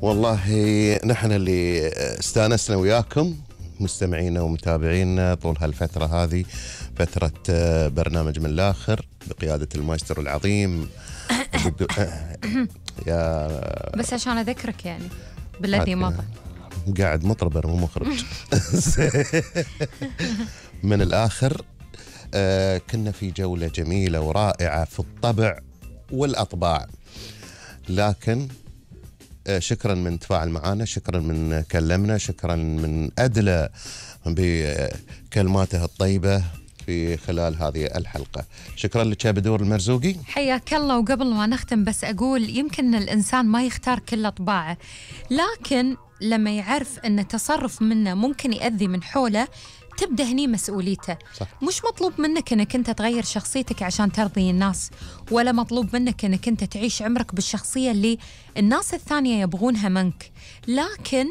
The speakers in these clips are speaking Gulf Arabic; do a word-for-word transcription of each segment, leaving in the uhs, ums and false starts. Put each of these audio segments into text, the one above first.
والله نحن اللي استانسنا وياكم مستمعينا ومتابعينا طول هالفترة هذه، فترة برنامج من الآخر بقيادة المايسترو العظيم يا بس عشان أذكرك يعني بالذي مضى قاعد مطرب مو مخرج. من الآخر آه كنا في جولة جميلة ورائعة في الطبع والأطباع، لكن آه شكرا من تفاعل معنا، شكرا من كلمنا، شكرا من أدلى بكلماته الطيبة في خلال هذه الحلقة. شكرا لك يا بدور المرزوقي، حياك الله. وقبل ما نختم بس أقول يمكن الإنسان ما يختار كل أطباعه، لكن لما يعرف أن تصرف منه ممكن يأذي من حوله تبدأ هني مسؤوليته. صح. مش مطلوب منك أنك أنت تغير شخصيتك عشان ترضي الناس، ولا مطلوب منك أنك أنت تعيش عمرك بالشخصية اللي الناس الثانية يبغونها منك، لكن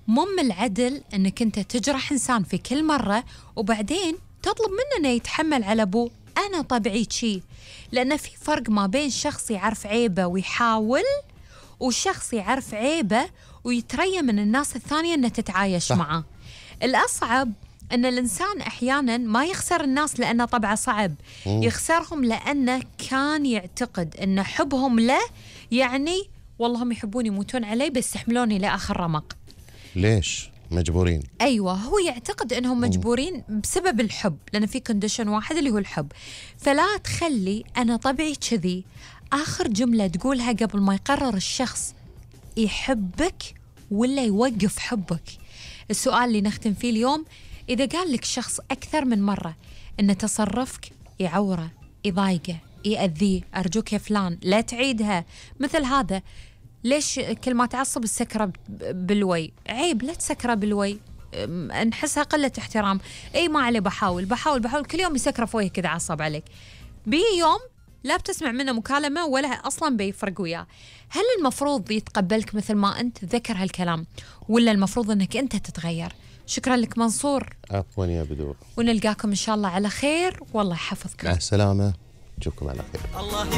مو من العدل أنك أنت تجرح إنسان في كل مرة وبعدين تطلب منه أنه يتحمل على أبوه. أنا طبيعي شي، لأن في فرق ما بين شخص يعرف عيبه ويحاول، وشخص يعرف عيبه ويتريى من الناس الثانية أنه تتعايش صح. معه. الأصعب أن الإنسان أحياناً ما يخسر الناس لأنه طبعه صعب، مم. يخسرهم لأنه كان يعتقد أن حبهم له يعني والله هم يحبوني يموتون علي بس يحملوني لآخر رمق. ليش مجبورين؟ أيوة، هو يعتقد أنهم مجبورين بسبب الحب، لأن في كونديشن واحد اللي هو الحب. فلا تخلي أنا طبيعي كذي آخر جملة تقولها قبل ما يقرر الشخص يحبك ولا يوقف حبك. السؤال اللي نختم فيه اليوم، إذا قال لك شخص أكثر من مرة إن تصرفك يعوره، يضايقه، يأذيه، أرجوك يا فلان لا تعيدها مثل هذا. ليش كل ما تعصب السكرة بالوي؟ عيب، لا تسكره بالوي، نحسها قلة احترام. أي ما عليه، بحاول بحاول بحاول كل يوم يسكره فويه كذا عصب عليك، بي يوم لا بتسمع منه مكالمة ولا أصلا بيفرق وياه. هل المفروض يتقبلك مثل ما أنت ذكر هالكلام، ولا المفروض أنك أنت تتغير؟ شكرا لك منصور. عفوا يا بدور، ونلقاكم إن شاء الله على خير، والله يحفظكم. مع السلامة، نشوفكم على خير.